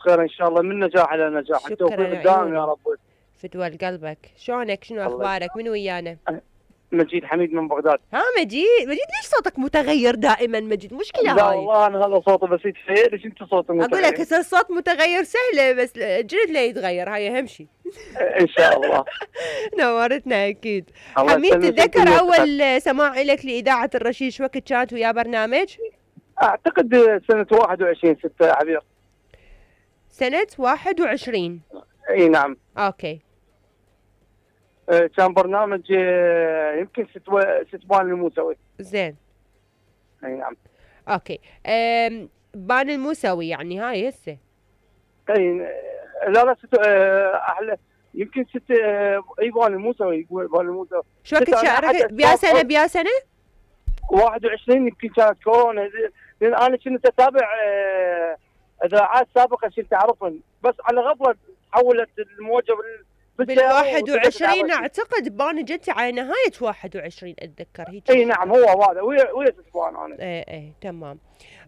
خير ان شاء الله، من نجاح الى نجاح، التوفيق الدائم يا رب. فتوى لقلبك. شلونك؟ شنو اخبارك؟ من ويانا؟ مجيد حميد من بغداد. ها مجيد ليش صوتك متغير دائما مجيد؟ مشكلة لا هاي. والله انا هذا صوتي بسيط، ليش انت صوتك متغير؟ اقول لك هسه الصوت متغير سهله، بس الجلد لا يتغير، هاي اهم شيء. ان شاء الله. نورتنا اكيد. حميد، تتذكر اول سماع لك لاذاعه الرشيد شو وقت كانت ويا برنامج؟ اعتقد سنه 21/6 يا عبير. سنه 21. اي نعم. اوكي. كان برنامج يمكن ستوان الموسوي. زين. اي نعم. اوكي. بان الموسوي يعني هاي هسه. اي لا احلى يمكن بان الموسوي، يقول بان الموسوي. شو وقت شاركت؟ بيا سنه 21 يمكن كانت كورونا، لان انا كنت اتابع اذاعات سابقه كنت اعرفهم، بس على غفله تحولت الموجه بال21 اعتقد بان جت على نهايه 21 اتذكر هيك. اي نعم هو هذا ويا ستوان انا. اي تمام.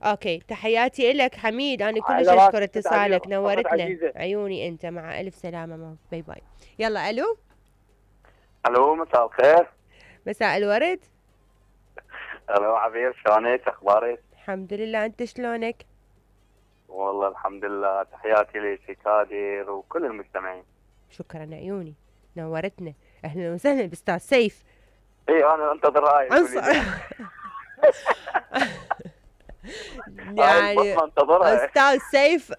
اوكي، تحياتي لك حميد، انا كلش اشكر اتصالك، نورتنا. عيوني انت، مع الف سلامه ماما، باي باي. يلا الو. الو مساء الخير. مساء الورد. الو عبير، شلونك؟ اخبارك؟ الحمد لله، انت شلونك؟ والله الحمد لله، تحياتي لك كادر وكل المستمعين. شكرا عيوني، نورتنا. اهلا وسهلا باستاذ سيف. اي انا انتظر هاي يعني استاذ سيف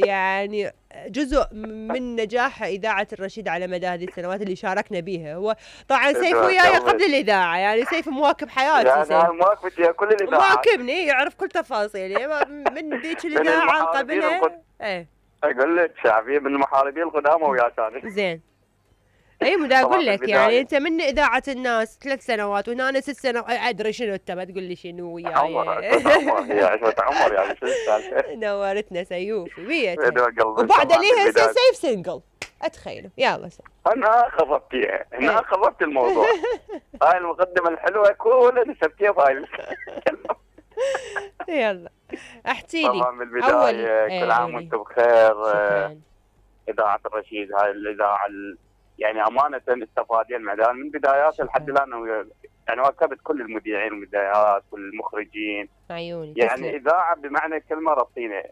يعني جزء من نجاح اذاعه الرشيد على مدى هذه السنوات اللي شاركنا بها. هو طبعا سيف وياي قبل الاذاعه، يعني سيف مواكب حياتي. يعني انا مواكبتي كل الاذاعات، مواكبني، يعرف كل تفاصيلي من ذيك الاذاعه قبلها. ايه اقول لك شعبيه من المحاربين القدامى ويا ثاني. زين. اي مدا اقول لك يعني انت من اذاعه الناس 3 سنوات وهنا انا 6 سنوات، ادري شنو انت ما تقول لي شنو وياي. هي عشرة عمر يعني شو السالفه. نورتنا سيوف بيتها، وبعد ليها سيف سنجل اتخيلوا. يلا انا خففتيها، هنا خففت الموضوع. هاي المقدمه الحلوه كلها نسبتيها بهاي. يلا احكي لي. طبعا بالبدايه كل عام وانتم بخير. اذاعه الرشيد هاي الاذاعه يعني امانه استفادين من بداياتها لحد الان، يعني واكبت كل المذيعين والمذيعات والمخرجين. عيوني يعني تسلم. اذاعه بمعنى كلمه رصينه،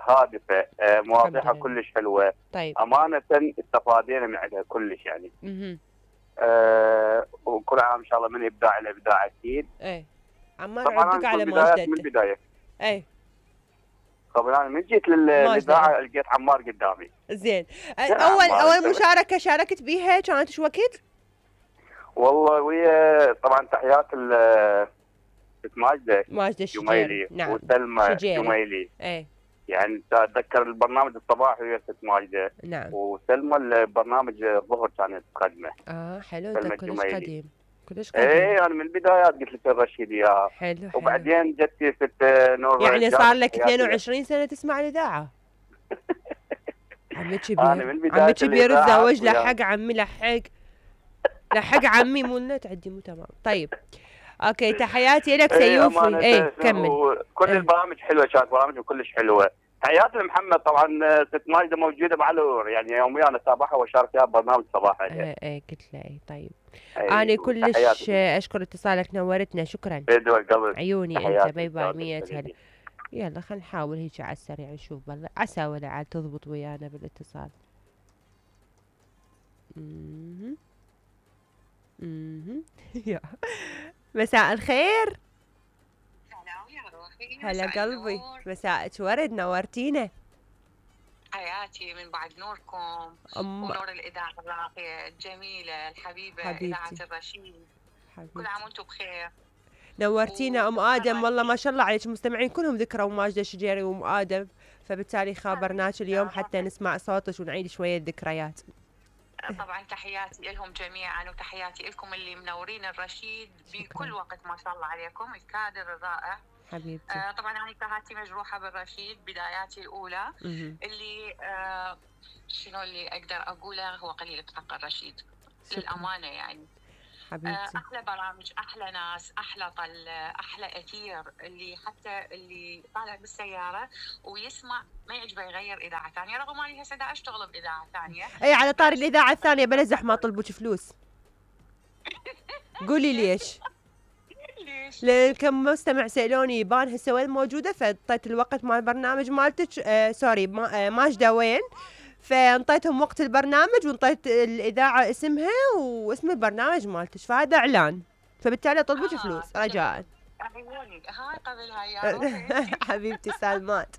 هادفه، مواضيعها كلش حلوه. طيب. امانه استفادينا من عندها كلش يعني. وكل عام ان شاء الله من ابداع الى ابداع اكيد. ايه عمار عندك على ماجدته من البدايه. ايه طبعا انا من جيت للاذاعه لقيت عمار قدامي. زين. اول مشاركه شاركت بيها كانت شو وقت؟ والله ويا طبعا تحيات ماجده الشجيري. نعم. وسلمى جميلي. ايه يعني اتذكر البرنامج الصباحي ويا ست ماجده. نعم. وسلمى البرنامج الظهر كانت تقدمه. حلو، انت كلش قديم. كلش قديم. ايه انا من البدايات قلت لك الرشيد اياها. حلو. وبعدين جتي ست نور. يعني صار لك 22 سنه تسمع الاذاعه. عمي كبير تزوج، لحق عمي لحق عمي مو لنا تعدي مو تمام. طيب اوكي، تحياتي لك سيوفي. كمل. كل البرامج حلوه، كانت برامج كلش حلوه. تحياتي لمحمد طبعا، ست ماجده موجوده معلور يعني يوميا اتابعها واشارك فيها ببرنامج صباحا. قلت له طيب. انا كلش اشكر اتصالك، نورتنا. شكرا. عيوني انت، باي باي. 100 هلا. يلا خلينا نحاول هيك على السريع نشوف بالله عسى ولا عاد تضبط ويانا بالاتصال. مساء الخير. هلا قلبي، مساءك ورد، نورتينا. حياتي من بعد نوركم ونور الاذاعه الراقيه الجميله الحبيبه اذاعه الرشيد. كل عام وانتم بخير. نورتينا ام ادم، والله ما شاء الله عليك، المستمعين كلهم ذكروا ماجده الشجيري وام ادم، فبالتالي خابرناك اليوم حتى نسمع صوتك ونعيد شويه ذكريات. طبعا تحياتي لهم جميعا وتحياتي لكم اللي منورين الرشيد بكل وقت، ما شاء الله عليكم الكادر الرائع حبيبتي. طبعا انا كهاتي مجروحه بالرشيد بداياتي الاولى. اللي شنو اللي اقدر اقوله، هو قليل بحق الرشيد للامانه يعني. حبيبتي. احلى برامج، احلى ناس، احلى احلى اثير، اللي حتى اللي طالع بالسياره ويسمع ما يعجبه يغير اذاعه ثانيه، رغم اني هسه دا اشتغل باذاعه ثانيه. اي على طاري الاذاعه الثانيه بلا زحمه طلبوك فلوس. قولي ليش؟ لان كم مستمع سالوني بان هسه وين موجوده، فانطيت الوقت مال البرنامج مالتك سوري ماجده وين، فانطيتهم وقت البرنامج وانطيت الاذاعه اسمها واسم البرنامج مالتك، فهذا اعلان، فبالتالي طلبوك فلوس رجاء. عيوني هاي قبلها يا روحي. حبيبتي سالمات.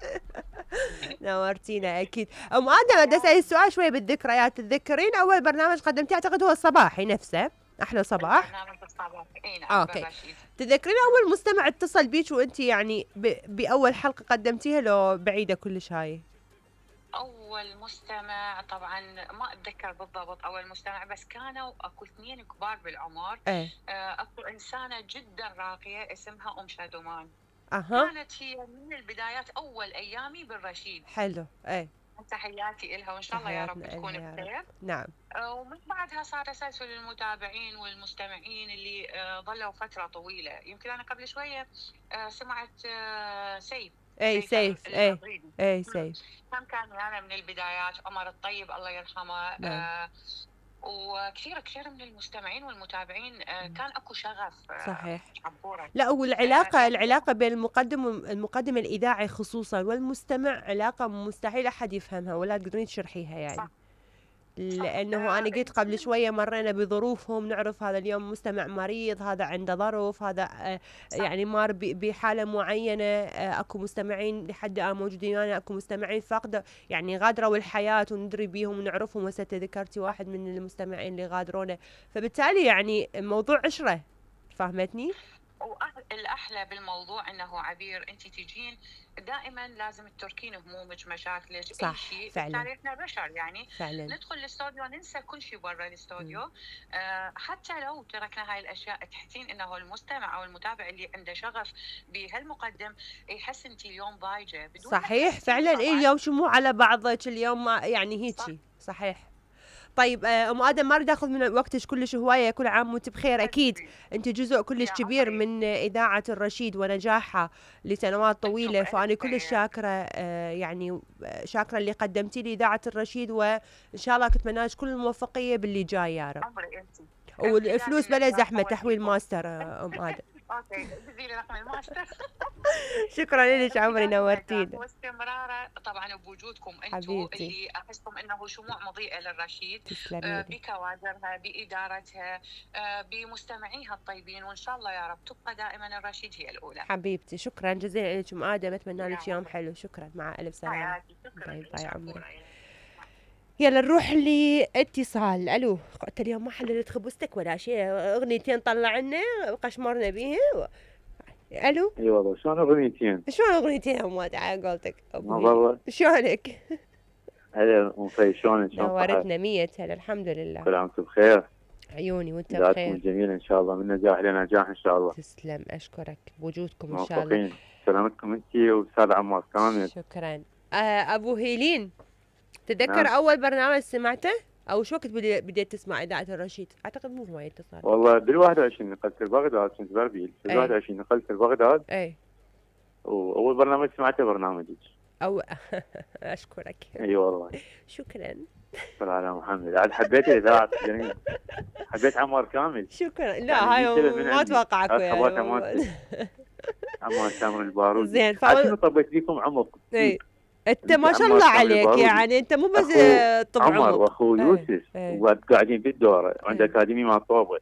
نورتينا اكيد. ام ادم بدي اسال السؤال شوي بالذكريات، تتذكرين اول برنامج قدمتيه؟ اعتقد هو الصباحي نفسه، احلى صباح. برنامج الصباحي. اوكي. تذكرين اول مستمع اتصل بيك وانت يعني باول حلقه قدمتيها لو بعيده كلش هاي؟ اول مستمع طبعا ما اتذكر بالضبط اول مستمع، بس كانوا اكو اثنين كبار بالعمر. اكو انسانه جدا راقيه اسمها ام شادومان. كانت هي من البدايات اول ايامي بالرشيد. حلو. تحياتي لها وان شاء الله يا رب تكون بخير. نعم. ومن بعدها صار تسلسل المتابعين والمستمعين اللي ظلوا فتره طويله. يمكن انا قبل شويه سمعت سيف. سيف. سيف كان انا من البدايات. عمر الطيب الله يرحمه. وكثير من المستمعين والمتابعين كان اكو شغف. صحيح. عبورة. لا، والعلاقه بين المقدم الاذاعي خصوصا والمستمع علاقه مستحيل احد يفهمها ولا تقدرين تشرحيها يعني. صح. لانه انا قلت قبل شويه مرينا بظروفهم، نعرف هذا اليوم مستمع مريض، هذا عنده ظرف، هذا يعني مار بحاله معينه. اكو مستمعين لحد الان موجودين، انا اكو مستمعين فاقده يعني غادروا الحياه وندري بيهم ونعرفهم، هسه تذكرتي واحد من المستمعين اللي غادرونا، فبالتالي يعني الموضوع عشره، فهمتني؟ والأحلى بالموضوع أنه عبير أنت تجين دائما لازم تتركين همومك مشاكلك أي شيء. بالتالي إحنا بشر يعني فعلا. ندخل الاستوديو ننسى كل شيء برا الاستوديو. حتى لو تركنا هاي الأشياء تحسين أنه المستمع أو المتابع اللي عنده شغف بهالمقدم يحس أنت اليوم ضايجة بدون. صحيح فعلا. اليوم شمو على بعضك اليوم ما يعني هيجي. صحيح. طيب ام ادم ما اريد اخذ من وقتك كلش هوايه، كل عام وانت بخير. اكيد انت جزء كلش كبير من اذاعه الرشيد ونجاحها لسنوات طويله، فانا كلش شاكره يعني شاكره اللي قدمتي لي اذاعه الرشيد، وان شاء الله اتمنى لك كل الموفقيه باللي جاي يا رب. والفلوس بلا زحمه تحويل ماستر ام ادم. اوكي بدي رقم الماستر. شكرا لك عمري، نورتينا. واستمراره طبعا بوجودكم انتم اللي احسكم انه شموع مضيئه للرشيد بكوادرها بادارتها بمستمعيها الطيبين، وان شاء الله يا رب تبقى دائما الرشيد هي الاولى. حبيبتي شكرا جزيلا لك ام ادم، اتمنى لك يوم حلو. شكرا، مع الف سلامه. باي باي عمري. يلا نروح لاتصال. الو، قلت اليوم ما حللت خبزتك ولا شيء، اغنيتين طلعنا قشمرنا بيها. الو. اي والله شلون اغنيتين؟ شلون اغنيتين يا اموات على قولتك؟ والله شلونك؟ هلا ام في شلونك؟ نورتنا 100. هلا الحمد لله. كل عام وانتم بخير. عيوني وانت بخير. جميل ان شاء الله، من نجاح لنجاح ان شاء الله. تسلم، اشكرك بوجودكم ان شاء الله. سلامتكم انت واستاذ عمار كامل. شكرا. ابو هيلين، تتذكر اول برنامج سمعته او شو وقت بديت تسمع اذاعه الرشيد؟ اعتقد مو هواي اتصال. والله بال21 نقلت لبغداد، كنت بربيل. بال21 نقلت لبغداد. اي. واول برنامج سمعته برنامجك. اشكرك. اي والله. شكرا. شكرا على محمد. عاد حبيت الاذاعه جميل. حبيت عمار كامل. شكرا. لا يعني هاي ما اتوقع اكو يعني. عمار كامل البارود. زين. شنو طبيت لكم عمق. اي. انت ما شاء الله عليك يعني، انت مو بس طب عمر واخو يوسف وقاعدين بالدوره عند اكاديمي مال طوبه.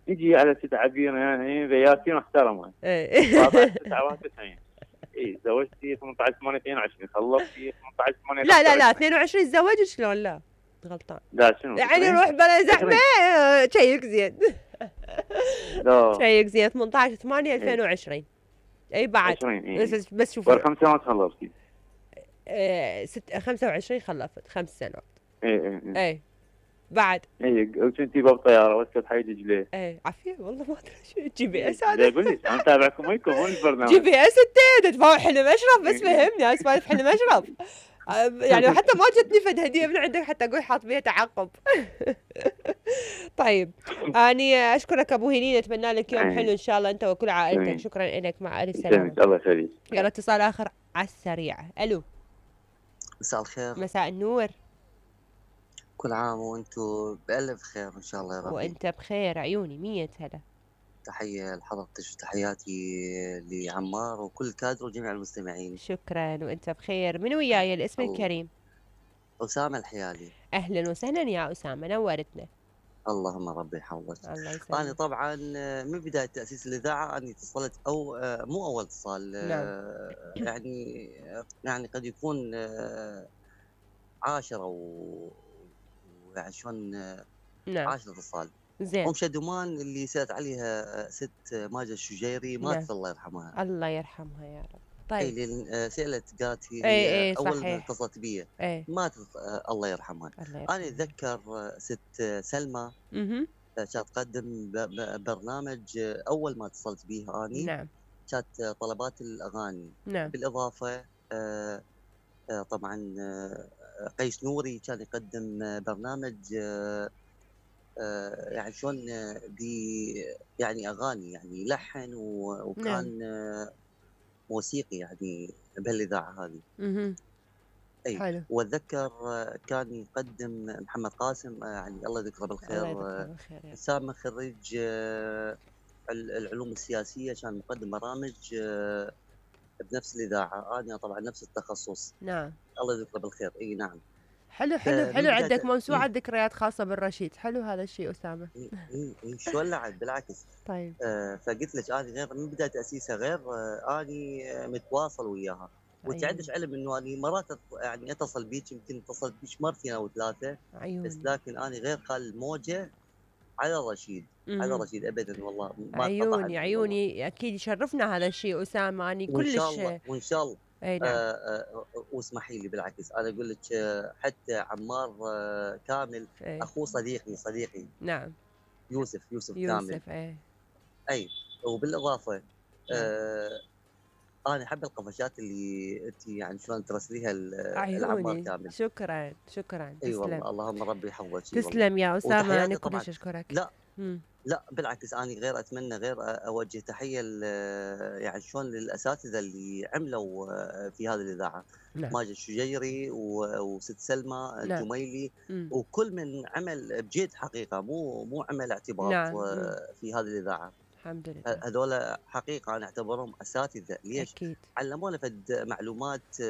يجي على 6 عبير يعني بياتي محترمه. 99 اي زوجتي 18/8/22 خلصتي 18/8. لا 22 تزوجت شلون؟ لا غلطان. لا شنو يعني روح بلا زحمه. شيك زين. لا شيك زين 18/8/2020. اي بعد 20 بس شوف 5 سنوات خلصتي. 25 خلفت 5 سنوات. اي بعد كنتي بالطياره وسط حي دجله. عافيه والله ما ادري شو جي بي اس هذا. اقول لك انا متابعكم وينكم هون البرنامج. جي بي اس انت تدفع حلم اشرف بس فهمني اسمع حلم اشرف. يعني حتى ما جتني فد هديه من عندك حتى اقول حاط بيها تعقب. طيب اني اشكرك ابو هنين، اتمنى لك يوم حلو ان شاء الله انت وكل عائلتك. شكرا لك، مع الف سلامه. الله يخليك. يلا اتصال اخر على السريع. الو، مساء الخير. مساء النور. كل عام وانتم بألف خير ان شاء الله يا رب. وانت بخير عيوني. 100 هلا. تحية لحضرتك وتحياتي لعمار وكل كادر وجميع المستمعين. شكرا وانت بخير. من وياي الاسم الكريم؟ أسامة الحيالي. اهلا وسهلا يا أسامة، نورتنا. اللهم ربي يحفظك. الله يسلمك. انا طبعا من بدايه تاسيس الاذاعه اني اتصلت او مو اول اتصال. نعم. يعني قد يكون 10 يعني شلون. نعم 10 اتصال. زين. ام شدومان اللي سالت عليها ست ماجد الشجيري ماتت. نعم. الله يرحمها. الله يرحمها يا رب. طيب. اي سالت قالت هي اول ما اتصلت بي ماتت. الله يرحمها. انا اتذكر ست سلمى كانت تقدم برنامج اول ما اتصلت به اني. نعم. كانت طلبات الاغاني. نعم. بالاضافه طبعا قيس نوري كان يقدم برنامج يعني شلون يعني اغاني يعني لحن وكان نعم. موسيقي يعني بهالاذاعه هذه. اي حلو. واتذكر كان يقدم محمد قاسم يعني الله يذكره بالخير. سامي خريج العلوم السياسيه، كان مقدم برامج بنفس الاذاعه. انا طبعا نفس التخصص. نعم. الله يذكره بالخير. اي نعم. حلو حلو حلو. عندك موسوعه ذكريات خاصه بالرشيد. حلو هذا الشيء أسامة. شو لعب بالعكس. طيب. فقلت لك انا غير من بدايه تاسيسها غير اني متواصل وياها. وانت عندك علم انه اني مرات يعني اتصل بيك، يمكن اتصلت بيك مرتين او ثلاثه. بس لكن اني غير خال الموجه على رشيد. على رشيد ابدا والله. ما عيوني عيوني والله. اكيد يشرفنا هذا الشيء أسامة. اني كلش وان شاء الله. اي نعم. واسمحي لي بالعكس انا اقول لك حتى عمار كامل اخوه صديقي. نعم. يوسف كامل. اي وبالاضافه انا احب القفشات اللي انت يعني شلون ترسليها العمار كامل. شكرا. اي والله اللهم ربي يحفظك. تسلم يا أسامة. انا كلش اشكرك. لا بالعكس انا غير اتمنى غير اوجه تحيه يعني شلون للاساتذه اللي عملوا في هذه الاذاعه. نعم. ماجد الشجيري وست سلمى الجميلي. وكل من عمل بجد حقيقه مو عمل اعتباط. نعم. في هذه الاذاعه. الحمد لله. هذول حقيقه انا اعتبرهم اساتذه. ليش؟ أكيد. علمونا فد معلومات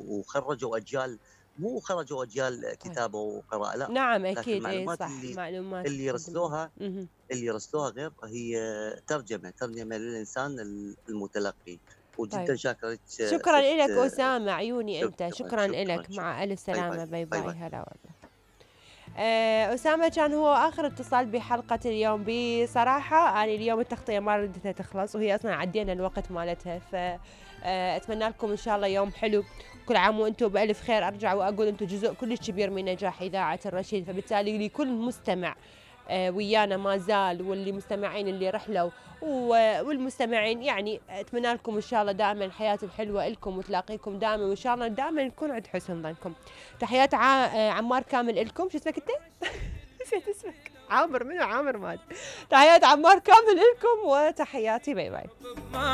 وخرجوا اجيال. مو خرجوا اجيال كتابه وقراءه لا. نعم اكيد. المعلومات صح. معلومات اللي يرسلوها غير هي ترجمه للانسان المتلقي. وجدا طيب. شاكر لك. شكرا لك أسامة عيوني انت. شكرا لك. مع الف سلامه. باي باي. هلا والله. أسامة كان هو آخر اتصال بحلقة اليوم. بصراحة أنا اليوم التغطية ما ردتها تخلص، وهي أصلا عدينا الوقت مالتها. فأتمنى لكم إن شاء الله يوم حلو. كل عام وأنتم بألف خير. أرجع وأقول أنتم جزء كلش كبير من نجاح إذاعة الرشيد، فبالتالي لكل مستمع ويانا ما زال، واللي مستمعين اللي رحلوا والمستمعين يعني أتمنى لكم إن شاء الله دائما الحياة الحلوة لكم وتلاقيكم دائما، وإن شاء الله دائما نكون عند حسن ظنكم. تحيات عمار كامل لكم. شو اسمك أنت؟ نسيت اسمك. عامر. منو عامر؟ مالي. تحيات عمار كامل لكم وتحياتي. باي باي.